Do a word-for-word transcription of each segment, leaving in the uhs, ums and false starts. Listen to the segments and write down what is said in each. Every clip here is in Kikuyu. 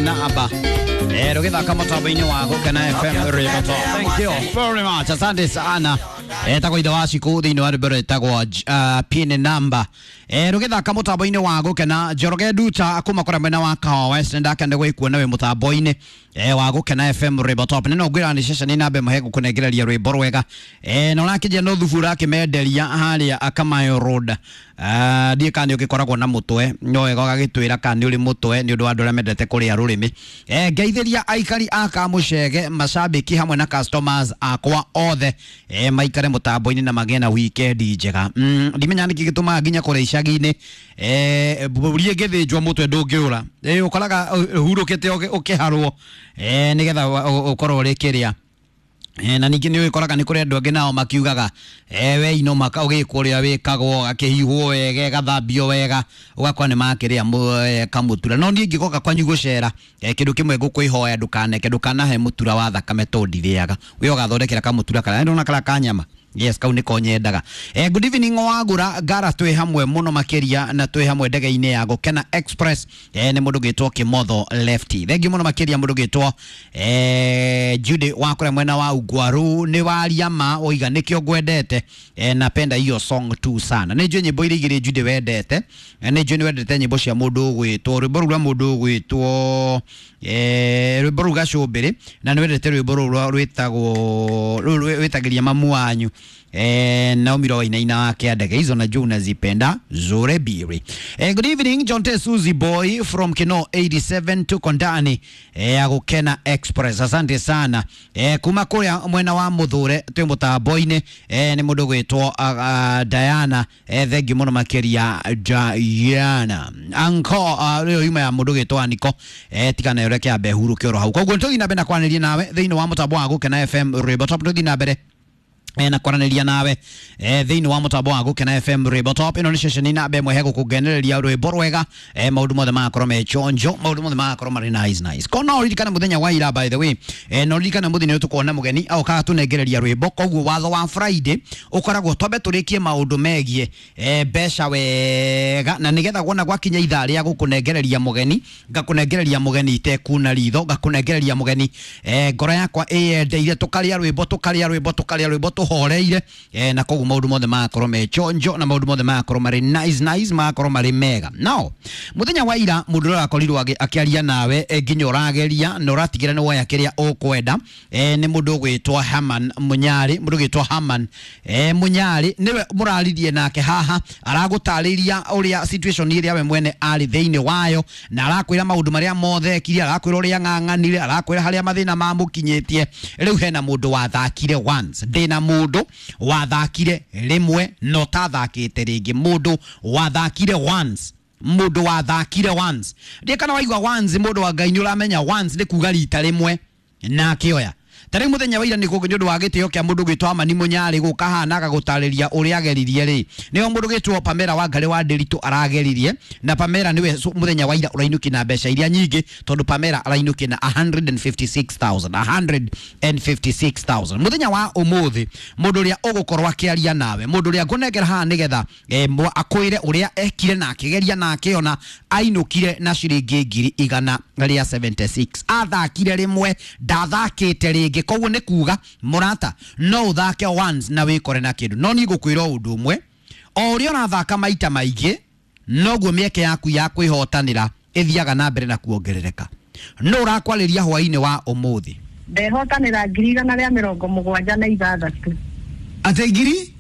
namba eh rugithaka mutambo-inĩ wa Gũkena F M Radio. Thank you very much, asante sana. Etagwo ithe wa Cikũ thĩinĩ wa rwĩmbo rwĩtagwo uh, pin number. Eh rugithaka mutambo-inĩ wa Gũkena. Njoroge Nduta kuma kũrĩa mwena wa Kahawa West, ndakende gwĩkuona wĩ mutambo-inĩ eh wa Gũkena F M Radio Top. Nĩ no ngwĩra nĩ ceceni namba ĩmwe hegũkũnengereria rwĩmbo rwega. Eh na ũrakĩnjia no thubu ũrakĩmenderia harĩa Kamayo Road. Ah ndiĩ kana nĩ ũgĩkoragwo na mũtwe, no wega ũgagĩtwĩra kana nĩ ũrĩ mũtwe nĩ ũndũ wa andũ arĩa mendete kũrĩa rũrĩmĩ. Eh ngeithĩria aikari a Kamũcege, macambĩki hamwe na customers akwa othe eh maikare mutambo-inĩ na magĩe na weekend njega. Mm, ndimenya nĩkĩ gĩtũmaga nginya kũrĩa icagi-inĩ eh mbũri ĩngĩthĩnjwo mũtwe ndũngĩũra. Eh ũkoraga ũhurũkĩte ũkĩharwo eh nĩgetha ũkorwo ũrĩ kĩrĩa. E, na ningĩ nĩ ũgĩkoraga nĩ kũrĩ andũ angĩ nao makiugaga e, we ino maka ũgĩkwo ũrĩa wĩkagwo akĩhihwo wega ĩgathambio wega ũgakora nĩ makĩrĩa e, kamũtura. No niĩ ingĩgoka kwanyu gũcera e, kĩndũ kĩmwe ngũkwĩhoya ndũkaneke, ndũkanahe mũtura wa thakame tondũ ndirĩaga. We ũgathondekera kamũtura karĩa ndona karĩa ka nyama. Yes, kau nĩko nyendaga. Eh, good evening wagura gara twĩ hamwe mũno makĩria na twĩ hamwe ndege-inĩ ya Gũkena Express. Eh, nĩ mũndũ gĩtwo Kĩmotho Lefty. Thank you mũno makĩria mũndũ gĩtwo eh Judy wa kũrĩa mwena wa Ugwaru, nĩ waria ma oiga nĩkĩo ngwendete. Eh, napenda hiyo song tu sana. Nĩ njũĩ nyĩmbo iria igĩrĩ Judy wendete. Eh, nĩ njũĩ nĩ wendete nyĩmbo cia mũndũ ũgwĩtwo rwĩmbo rũu rwa mũndũ ũgwĩtwo eh rwĩmbo rũu Gacũmbĩrĩ, na nĩ wendete rwĩmbo rũu rwĩtagwo rũu rwĩtagĩria mamu wanyu. Eh, Naomi Roy na ina wake ndege hizo na juu unazipenda zure biri. Eh, good evening John T Suzy Boy from Kino eighty-seven tuko ndani eh ya Gũkena Express. Asante sana. Eh, kuma kuria mwena wa Muthure twi mutambo-inĩ eh ni mundu gwitwo uh, uh, Diana. Eh, thank you muno makiria Diana. Anko uh, rĩo yuma ya mundu gwitwo Aniko. Eh, tigana yore kia behuru kioro hau. Koguo nitũthiĩ na mbere na kwanĩria nawe thĩinĩ wa mutambo wa Gũkena F M Radio Top. Tũthiĩ na mbere e na kwaranĩria nawe e thĩinĩ wa mũtambo wa Gũkena F M Radio Top. Ĩno nĩ ceceni namba ĩmwe hegũkũngenereria rwĩmbo rwega. E maũndũ mothe magakorwo me chonjo, maũndũ mothe magakorwo marĩ nice nice. Ko no ũririkane mũthenya wa ira, by the way, e no ũririkane mũthenya ũyũ tũkona mũgeni aũkaga tũnengereria rwĩmbo. Koguo watho wa Friday ũkoragwo twambe tũrĩkie maũndũ megiĩ e mbeca wega, na nĩgetha wona gwakinya ithaa rĩa gũkũnengereria mũgeni, ngakũnengereria mũgeni itekuna ritho, ngakũnengereria mũgeni e ngoro yakwa ĩyendeire, tũkarĩa rwĩmbo tũkarĩa rwĩmbo tũkarĩa rwĩmbo horeire eh, na koguo maundu mothe magakorwo me chonjo na maundu mothe magakorwo marĩ nice nice, magakorwo marĩ mega. Now muthenya wa ira mundu ũrĩa akorirwo akĩaria nawe eh, nginya ũrageria na ũratigĩra nĩ woya kĩrĩa ũkwenda eh, nĩ mũndũ ũgwĩtwo Haman Munyari. Mũndũ ũgwĩtwo Haman eh, Munyari nĩwe mũraririe nake haha, aragũtarĩria ũrĩa situation ĩrĩa we mwene arĩ thĩinĩ wayo, na arakwĩra maũndũ marĩa mothe ekire, arakwĩra ũrĩa ng'ang'anire, arakwĩra harĩa mathĩna mamũkinyĩtie. Rĩu hena mũndũ wathakire once, ndĩna mũndũ wathakire rĩmwe no tathakĩte rĩngĩ, mũndũ wathakire once, mũndũ wathakire once. Ndiĩ kana waigua once, mũndũ wa Ngai nĩ ũramenya once nĩ kuga rita rĩmwe na akĩoya. Ta rĩu mũthenya wa ira nĩ nĩ ũndũ wa gĩtĩo kĩa mũndũ gwĩtwo Amani Mũnyarĩ gũka haha na agagũtarĩria ũrĩa ageririe rĩ, nĩho mũndũ gwĩtwo Pamela Wangari wa Ndĩritũ arageririe, na Pamela nĩwe mũthenya wa ira ũrainũkia na mbeca iria nyingĩ, tondũ Pamela arainũkia na a hundred and fifty-six thousand, a hundred and fifty-six thousand. Mũthenya wa ũmũthĩ mũndũ ũrĩa ũgũkorwo akĩaria nawe, mũndũ ũrĩa ngũnengera haha nĩgetha eh, akwĩre ũrĩa ekire na akĩgeria na akĩona ainũkire na ciringi ngiri igana rĩa seventy-six. Athakire rĩmwe, ndathakĩte rĩngĩ. Koguo nĩ kuga mũrata no ũthake once na wĩkore na kĩndũ. No niĩ ngũkwĩra ũndũ ũmwe, o ũrĩa ũrathaka maita maingĩ noguo mĩeke yaku ya kwĩhotanĩra ĩthiaga na mbere na kuongerereka. No ũrakwarĩria hwaĩ-inĩ wa ũmũthĩ. Ndehotanĩra ngiri igana rĩa mĩrongo mũgwanja na ithathatũ. Atĩ ngiri?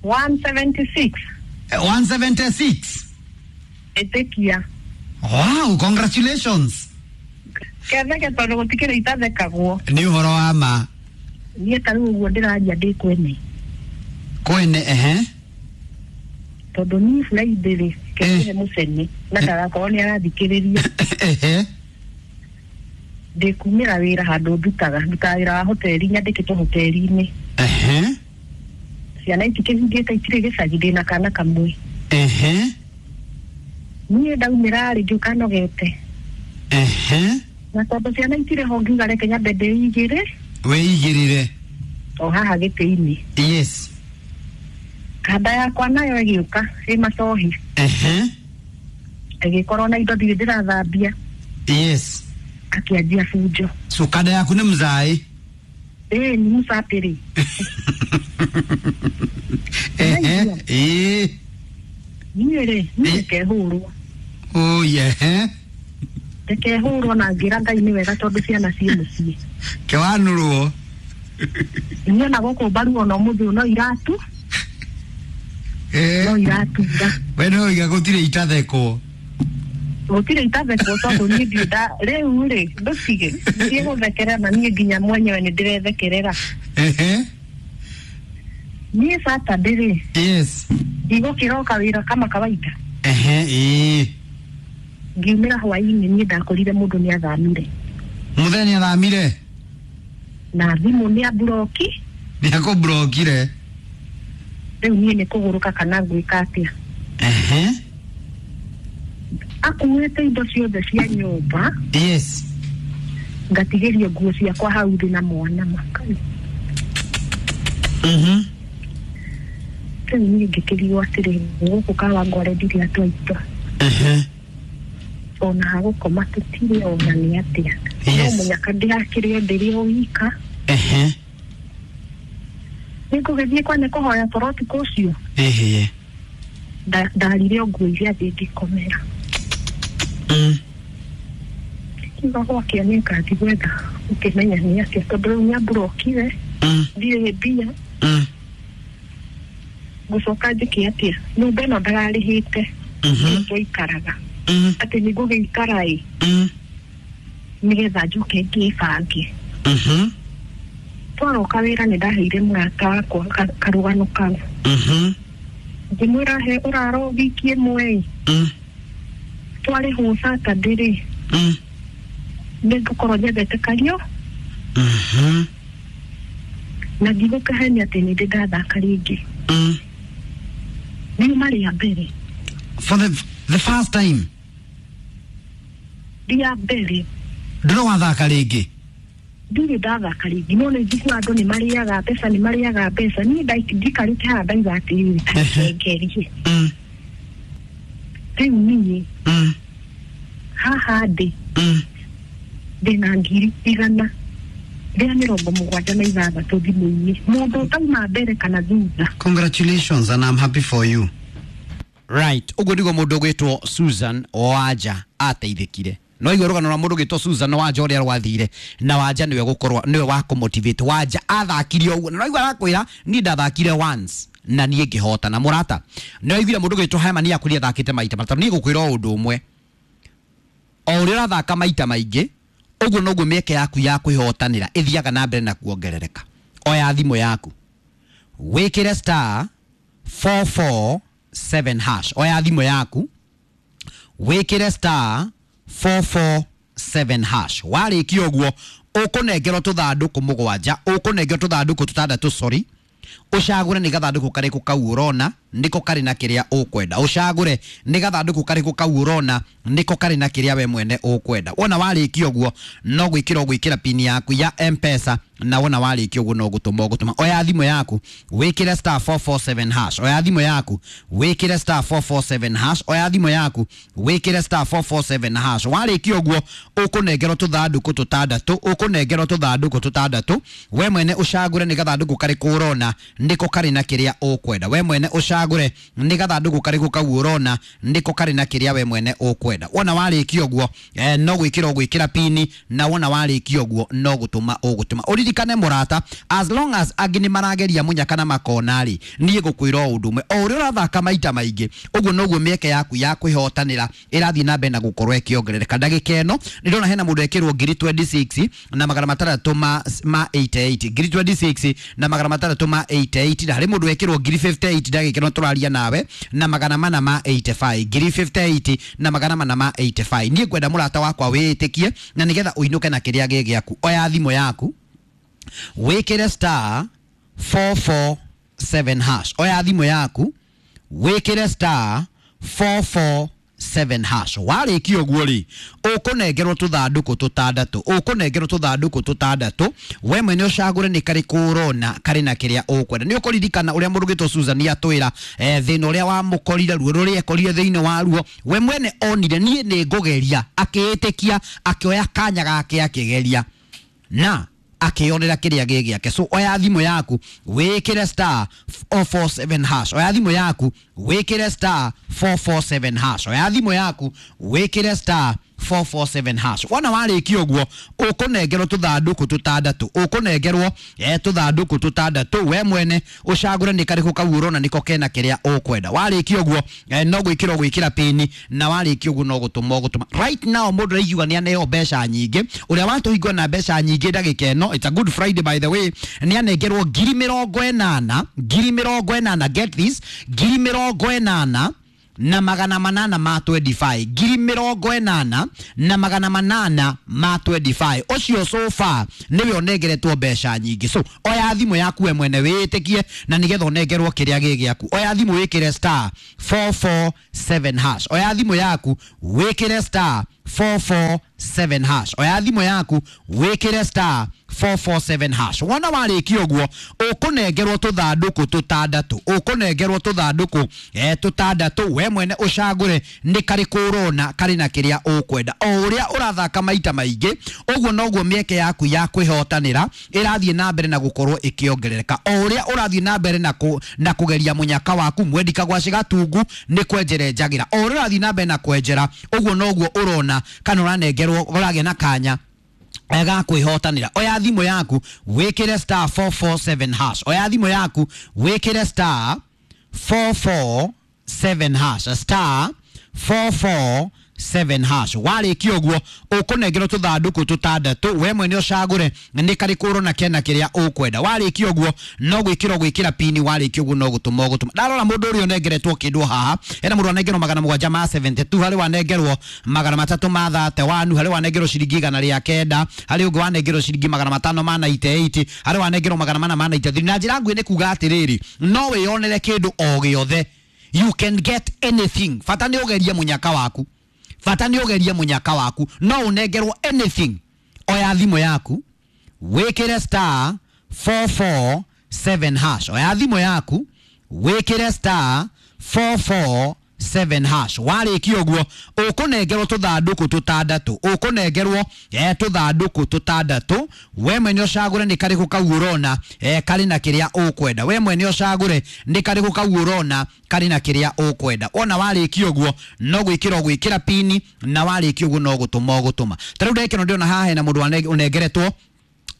one seventy-six. one seventy-six. Ĩtĩkia. Wow, congratulations. Ketheke tondũ gũtikĩrĩ itathekagwo. Nĩ ũhoro wa ma. Niĩ ta rĩu ũguo ndĩraria ndĩ kwene. Kwene, ehe. Tondũ niĩ Friday rĩ, kĩrĩ mũcene na ndagakorwo nĩ arathikĩrĩria. Ehe. Ndĩkumĩra wĩra handũ ndutaga, ndutaga wĩra wa hoteli, nyandĩkĩtwo hoteli-inĩ. Ehe. Ciana itikĩhingĩte itirĩ gĩcagi, ndĩna kana kamwe. Ehe. Niĩ ndaumĩra rĩ ngĩũka nogete. Ehe. Na tondũ ciana itirĩ ho ngiuga reke nyambe ndĩigĩre. Wĩigĩrĩre. O haha gĩtĩ-inĩ. Yes. Kanda yakwa nayo ĩgĩũka ĩ macohi. Ehe. Ĩgĩkorwo na indo ndirĩ ndĩrathambia. Yes. Akĩanjia bunjo. So kada yaku nĩ mzai? Ĩĩ, nĩ mũcapĩrĩ. Ehe. Ĩĩ. Niĩ rĩ, niĩ ndikehũrwo. Oh yeah. Ndikehũrwo na ngĩra Ngai nĩ wega tondũ ciana ciĩ mũciĩ. Kewanũrwo. Niĩ ona gũkũ mbaru ona ũmũthĩ no iratu. Eh. No iratura. We no iga gũtirĩ itathekwo. Gũtirĩ itathekwo tondũ niĩ ndirĩ nda rĩu rĩ ndũtige ndiĩ gũthekerera na niĩ nginya mwenyewe nĩ ndĩrethekerera. Ehe. Niĩ Saturday rĩ. Yes. Ndigũkĩroka wĩra kama kawaida. Ehe, ĩĩ. Ngiumĩra hwaĩ-inĩ niĩ ndakorire mũndũ nĩ athamire. Mũthenya nĩ athamire? Na thimũ nĩ amburoki. Nĩ akũmburokire. Rĩu niĩ nĩ kũgũrũka kana ngwĩka atĩa. Ehe. Akuĩte indo ciothe cia nyũmba. Yes. Ngatigĩrio nguo ciakwa hau thĩ na mwana makai. Mhm. Rĩu niĩ ngĩkĩrigwo atĩrĩ, gũkũ Kawangware ndirĩ atwaitwa. Ehe. Ona hagũkoma tũtirĩ ona nĩ atĩa. Yes. No mũnyaka ndĩrakĩrĩ o ndĩrĩ o wika. Ehe. Nĩngũgĩthiĩ kwa nĩ kũhoya toro ũtukũ ũcio. Ehe. Ndarire o nguo iria thĩ ngĩkomera. Mm. Kiuga gwakĩa nĩ ngathiĩ gwetha ũkĩmenya nĩ atĩa tondũ rĩu nĩamburokire. Mm. Ndirĩ mbia. Mm. Ngũcoka njĩke atĩa? Nyũmba ĩno ndararĩhĩte. Mhm. Twaikaraga. Mm. Atĩ nĩngũgĩikara ĩ. Mm. Nĩgetha njoke ngĩbange. Mhm. Twaroka wĩra nĩ ndaheire mũrata wakwa karũgano kau. Mhm. Ngĩmwĩra he ũraro wiki ĩmwe ĩ. Mm. Twarĩhwo Saturday rĩ. Mm. Nĩngũkorwo nyendete kario. Mhm. Na ndigũkĩhenia atĩ nĩ ndĩ ndathaka rĩngĩ. Mm. Riuma rĩa mbere. For the, the first time? Rĩa mbere. Ndũrĩ wathaka rĩngĩ? Ndirĩ ndathaka rĩngĩ. No nĩ njiguaga andũ nĩ marĩaga mbeca, nĩ marĩaga mbeca. Niĩ ndikarĩte haha ndauga atĩrĩrĩ, ngerie. Mm. Rĩu niĩ. Mm. Haha ndĩ. Mm. Ndĩna ngiri igana rĩa mĩrongo mũgwanja na ithathatũ thimũ-inĩ. Mũndũ ũtauma mbere kana thutha. Congratulations and I'm happy for you. Right, ũguo nĩguo mũndũ ũgwĩtwo Susan Wanja ateithĩkire. No igua rũgano rwa mũndũ ũgwĩtwo Susan Wanja ũrĩa rwathire na Wanja nĩwe gũkorwo nĩwe wa kũmotivate. Wanja athakire ũguo na igua arakwĩra niĩ ndathakire once na niĩ ngĩhota na mũrata. No aiguire mũndũ ũgwĩtwo Herman akwĩrire athakĩte maita matatũ. Niĩ ngũkwĩra o ũndũ ũmwe, o ũrĩa ũrathaka maita maingĩ ũguo noguo mĩeke yaku ya kwĩhotanĩra ĩthiaga na mbere na kuongerereka. Oya thimũ yaku wĩkĩre star four four seven hash. Oya thimũ yaku wĩkĩre star four four seven hash. Warĩkia ũguo ũkũnengerwo tũthandũkũ mũgwanja, ũkũnengerwo tũthandũkũ tũtandatũ, sorry. Ũcagũre nĩ gathandũkũ karĩkũ kau ũrona nĩko karĩ na kĩrĩa ũkwenda. Ũcagũre nĩ gathandũkũ karĩkũ kau ũrona nĩko karĩ na kĩrĩa we mwene ũkwenda. Wona warĩkia ũguo no gwĩkĩra ũgwĩkĩra pin yaku ya M-Pesa, na wona warĩkia ũguo no gũtũma ũgũtũma. Oya thimũ yaku wĩkĩre star four four seven hash. Oya thimũ yaku wĩkĩre star four four seven hash. Oya thimũ yaku wĩkĩre star four four seven hash. Warĩkia ũguo ũkũnengerwo tũthandũkũ tũtandatũ, ũkũnengerwo tũthandũkũ tũtandatũ. We mwene ũcagũre nĩ gathandũkũ karĩkũ ũrona nĩko karĩ na kĩrĩa ũkwenda. We mwene ũcagũre nĩ gathandũkũ karĩkũ kau ũrona nĩko karĩ na kĩrĩa we mwene ũkwenda. Wona warĩkia ũguo eh, no gwĩkĩra ũgwĩkĩra pini, na wona warĩkia ũguo no gũtũma ũgũtũma. Ũririkane mũrata, as long as angĩ nĩ marageria mũnyaka na makona rĩ, niĩ ngũkwĩra o ũndũ ũmwe, o ũrĩa ũrathaka maita maingĩ ũguo noguo mĩeke yaku ya kwĩhotanĩra ĩrathiĩ na mbere na gũkorwo ĩkĩongerereka. Ndagĩka ĩno nĩ ndĩrona hena mũndũ ekĩrwo ngiri twenty six na magana matandatũ ma, ma eighty eight, ngiri twenty six na magana matandatũ ma eighty eight, na harĩ mũndũ ekĩrwo ngiri fifty eight ndagĩka ĩno tũraria nawe na magana mana ma eighty five, ngiri fifty eight na magana mana ma eighty five. Niĩ ngwenda mũrata wakwa wĩĩtĩkie na nĩgetha ũinũke na kĩrĩa gĩ gĩaku. Oya thimũ yaku wĩkĩre star four four seven hash. Oya thimũ yaku wĩkĩre star four four seven hash. Warĩkia ũguo rĩ, ũkũnengerwo tũthandũkũ tũtandatũ, ũkũnengerwo tũthandũkũ tũtandatũ, we mwene ũcagũre nĩ karĩkũ ũrona karĩ na kĩrĩa ũkwenda. Nĩ ũkũririkana ũrĩa mũndũ ũgĩtwo Susan atwĩra eh, thĩna ũrĩa wamũkorire, ruo rũrĩa ekorire thĩinĩ wa ruo, we mwene onire niĩ nĩ ngũgeria, akĩĩtĩkia, akĩoya kanya gake akĩgeria na akĩonera kĩrĩa gĩ gĩake. So oya thimũ yaku wĩkĩre star four four seven hash, oya thimũ yaku wĩkĩre star four four seven hash, oya thimũ yaku wĩkĩre star four four seven hash. Wona warĩkia ũguo ũkũnengerwo tũthandũkũ tũtandatũ, ũkũnengerwo eh, tũthandũkũ tũtandatũ, we mwene ũcagũre nĩ karĩkũ kau ũrona nĩko kena kĩrĩa ũkwenda. Warĩkia ũguo eh, no gwĩkĩra ũgwĩkĩra pini, na warĩkia ũguo no gũtũma ũgũtũma. Right now mũndũ araigua nĩ aneo mbeca nyingĩ, ũrĩa watũhingwo na mbeca nyingĩ ndagĩka ĩno, it's a good Friday by the way, nĩ anengerwo ngiri mĩrongo ĩnana, ngiri mĩrongo ĩnana, get this, ngiri mĩrongo ĩnana na magana manana ma twenty-five, ngiri mĩrongo ĩnana na magana manana ma twenty-five. Ũcio so far nĩwe ũnengeretwo mbeca nyingĩ. So oya thimũ yaku we mwene wĩtĩkie na nĩgetha ũnengerwo kĩrĩa gĩ gĩaku. Oya thimũ wĩkĩre star four four seven hash, oya thimũ yaku wĩkĩre star four four seven hash, oya thimũ yaku wĩkĩre star four four seven hash. Wona warĩkia ũguo ũkũnengerwo tũthandũkũ tũtandatũ, ũkũnengerwo tũthandũkũ eh, tũtandatũ, we mwene ũcagũre nĩ karĩkũ ũrona karĩ na kĩrĩa ũkwenda. O ũrĩa ũrathaka maita maingĩ ũguo noguo mĩeke yaku ya kwĩhotanĩra ĩrathiĩ na mbere na gũkorwo ĩkĩongerereka. O ũrĩa ũrathiĩ na mbere na, kũ, na kũgeria mũnyaka waku mwendi kagwacĩ gatungu nĩ kwenjera njagĩra. O ũrĩa ũrathiĩ na mbere na kwenjera ũguo noguo ũrona kana ũranengerwo ũragĩa na kanya ga kwĩhotanĩra. Oya thimũ yaku wĩkĩre star four four seven hash, oya thimũ yaku wĩkĩre star four four seven hash, star four four seven hash. Warĩkia ũguo ũkũnengerwo tũthandũkũ tũtandatũ, we mwene ũcagũre nĩ karĩkũ ũrona kena kĩrĩa ũkwenda. Warĩkia ũguo no gwĩkĩra ũgwĩkĩra pini, warĩkia ũguo no gũtũma ũgũtũma. Ndarora mũndũ ũrĩa ũnengeretwo kĩndũ haha, hena mũndũ anengerwo magana mũgwanja ma seventy-two, harĩ wanengerwo magana matatũ ma thirty-one, harĩ wanengerwo ciringi igana rĩa kenda, harĩ ũngĩ wanengerwo ciringi magana matano ma ninety-eight, harĩ wanengerwo magana mana ma ninety-three. Na njĩra nguhĩ nĩ kuga atĩrĩrĩ, no wĩyonere kĩndũ o gĩothe, you can get anything, bata nĩ ũgerie mũnyaka waku, bata nĩ ũgerie mũnyaka waku, no ũnengerwo anything. Oya thimũ yaku wĩkĩre star four four seven hash, oya thimũ yaku wĩkĩre star four four seven hash. Warĩkia ũguo ũkũnengerwo tũthandũkũ tũtandatũ, ũkũnengerwo eh, tũthandũkũ tũtandatũ, we mwene ũcagũre nĩ karĩkũ kau ũrona eh, karĩ na kĩrĩa ũkwenda. We mwene ũcagũre nĩ karĩkũ kau ũrona karĩ na kĩrĩa ũkwenda. Wona warĩkia ũguo no gwĩkĩra ũgwĩkĩra pini, na warĩkia ũguo no gũtũma ũgũtũma. Ta rĩu ndagĩka ĩno ndĩrona haha hena mũndũ ũnengeretwo,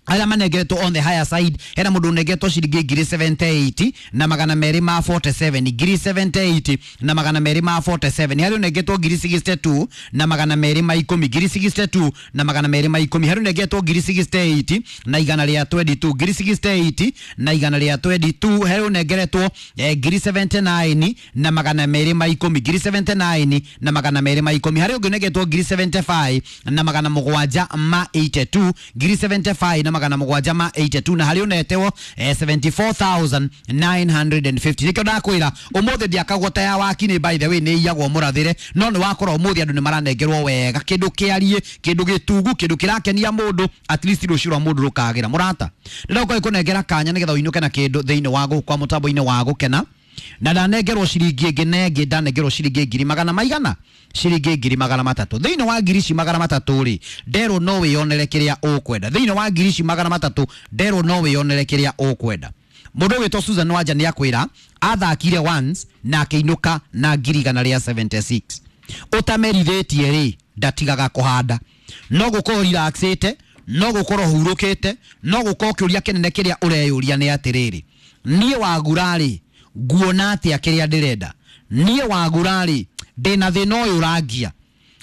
arĩa manengeretwo on the higher side, hena mũndũ ũnengeretwo ciringi ngiri seventy-eight na magana merĩ ma forty-seven, ngiri seventy-eight na magana merĩ ma forty-seven, harĩ ũnengeretwo ngiri sixty-two na magana merĩ ma ikũmi, ngiri sixty-two na magana merĩ ma ikũmi, harĩ ũnengeretwo ngiri sixty-eight na igana rĩa twenty-two, ngiri sixty-eight na igana rĩa twenty-two, harĩ ũnengeretwo eh, ngiri seventy-nine na magana merĩ ma ikũmi, ngiri seventy-nine na magana merĩ ma ikũmi, harĩ ũngĩ ũnengeretwo ngiri seventy-five na magana mũgwanja ma eighty-two, ngiri seventy-five na magana mũgwanja ma eighty-two, na harĩ ũnetewo eh, seventy-four thousand nine hundred fifty. Nĩkĩo ndakwĩra ũmũthĩ ndiakagwo ta ya wakinĩ, by the way nĩ iyagwo mũrathĩre, no nĩ wakora ũmũthĩ andũ nĩ maranengerwo wega, kĩndũ kĩarie, kĩndũ gĩtungu, kĩndũ kĩrakenia mũndũ, at least rũciũ rwa mũndũ rũkagĩra. Mũrata, ndĩrenda gũkũnengera kanya nĩgetha ũinũke na kĩndũ thĩinĩ wa gũkwa mũtambo-inĩ wa gũkena. Na ndanengerwo ciringi ĩngĩ na ĩngĩ, ndanengerwo ciringi ngiri magana maigana, ciringi ngiri magana matatũ. Thĩinĩ wa ngiri ici magana matatũ rĩ, nderwo no wĩyonere kĩrĩa ũkwenda. Thĩinĩ wa ngiri ici magana matatũ nderwo no wĩyonere kĩrĩa ũkwenda. Mũndũ ũgwĩtwo Susan Wanja nĩ akwĩra athakire once na akĩinũka na ngiri igana rĩa seventy-six. Ũtamerithĩtie rĩ, ndatigaga kũhanda, no gũkorwo relaxĩte, no gũkorwo hurũkĩte, no gũkorwo kĩũria kĩnene kĩrĩa ũreyũria nĩ atĩrĩrĩ, niĩ wagura rĩ nguona atĩa kĩrĩa ndĩrenda, niĩ wagura rĩ ndĩna thĩna ũyũ ũrangia,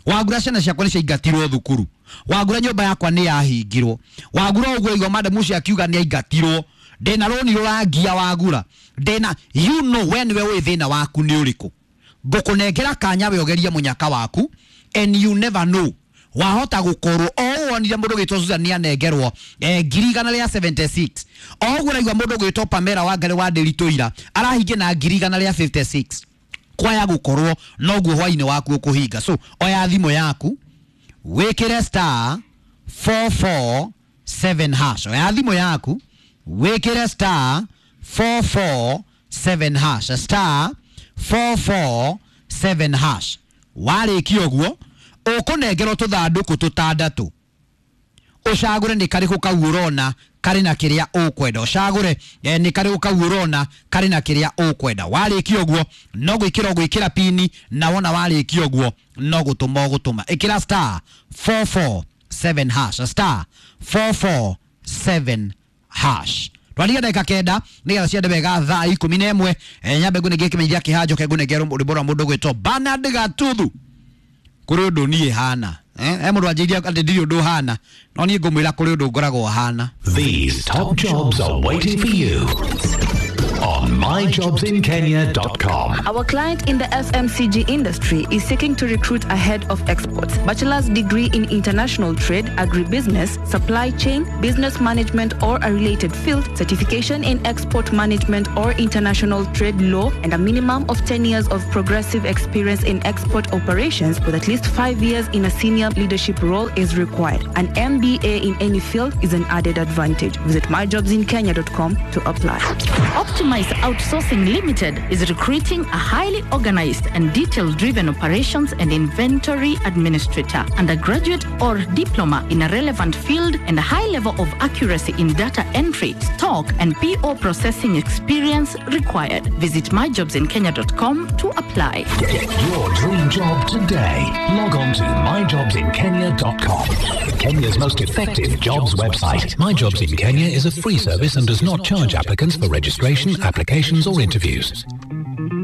wagura ciana ciakwa nĩ ciaingatirwo thukuru, wagura nyũmba yakwa nĩ yahingirwo, wagura ũguo igua madam ũcio akiuga nĩ aingatirwo, ndĩna rũni rũrangia, wagura ndĩna, you know we nĩwe ũĩ thĩna waku nĩ ũrĩkũ. Ngũkũnengera kanya we ũgerie mũnyaka waku, and you never know, wahota gũkorwo o wonire mũndũ ũgwĩtwo Susan nĩ anengerwo eh, ngiri igana rĩa seventy-six, o ũguo ũraigua mũndũ ũgwĩtwo Pamela Wangari wa Ndĩritũ ira arahingia na ngiri igana rĩa fifty-six. Kwaya gũkorwo noguo hwainĩ waku ũkũhinga. So oya thimũ yaku wĩkĩre star four four seven hash. Oya thimũ yaku wĩkĩre star four four seven hash, star four four seven hash. Warĩkia ũguo ũkũnengerwo tũthandũkũ tũtandatũ, ũcagũre nĩ karĩkũ kau ũrona karĩ na kĩrĩa ũkwenda. Ũcagũre eh, nĩ karĩkũ kau ũrona karĩ na kĩrĩa ũkwenda. Warĩkia ũguo no gwĩkĩra ũgwĩkĩra pini, na wona warĩkia ũguo no gũtũma ũgũtũma. Ĩkĩra star four four seven hash, star four four seven hash. Twariga ndagĩka kenda nĩgetha ciende wega thaa ikũmi na ĩmwe. Eh, nyambe ngũnengere kĩmenyithia kĩhanjo ke ngũnengere rwĩmbo rwa mũndũ gwĩtwo Bernard Gatuthu. Kũrĩ ũndũ niĩ hana eh, he mũndũ anjĩirie atĩ ndirĩ ũndũ hana, no niĩ ngũmwĩra kũrĩ ũndũ ngoragwo hana. These top jobs are waiting for you on my jobs in kenya dot com. Our client in the F M C G industry is seeking to recruit a head of exports, bachelor's degree in international trade, agribusiness, supply chain, business management or a related field, certification in export management or international trade law, and a minimum of ten years of progressive experience in export operations with at least five years in a senior leadership role is required. An M B A in any field is an added advantage. Visit my jobs in kenya dot com to apply. Optimize Outsourcing Limited is recruiting a highly organized and detail-driven operations and inventory administrator, undergraduate or diploma in a relevant field, and a high level of accuracy in data entry, stock, and P O processing experience required. Visit my jobs in kenya dot com to apply. Get your dream job today. Log on to my jobs in kenya dot com. Kenya's most effective jobs website. My Jobs in Kenya is a free service and does not charge applicants for registration, applications or interviews.